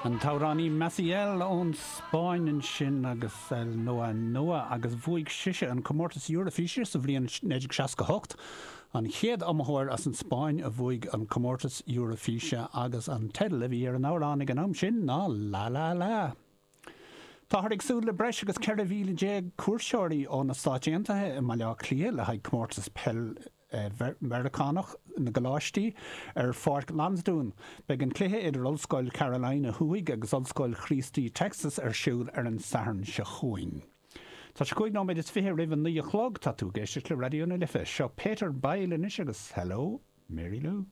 An t-amhránaí Massiel ón Spáinn ansin agus El Noa Noa agus bhuaigh sise an comórtas Eurofíse sa bhliain 1968, an chéad iomaitheoir as an Spáinn a bhuaigh an comórtas Eurofíse agus an teideal a bhí ar an amhrán ag an am sin ná La La La. Táthar ag súil le breis agus 14,000 cuairteoirí ó na Stáit Aontaithe i mBaile Átha Cliath le haghaidh comórtas peil Mheiriceánach na gColáistí ar Pháirc Lansdún. Beidh an cluiche idir Ollscoil Carolina Thuaidh agus Ollscoil Chríostaí Texas ar siúl ar an Satharn seo chugainn. Tá sé 25 nóiméad roimh a 9 a chlog. Tá tú ag éisteacht le Raidió na Life. Seo Peter Byle anois agus Hello, Mary Lou.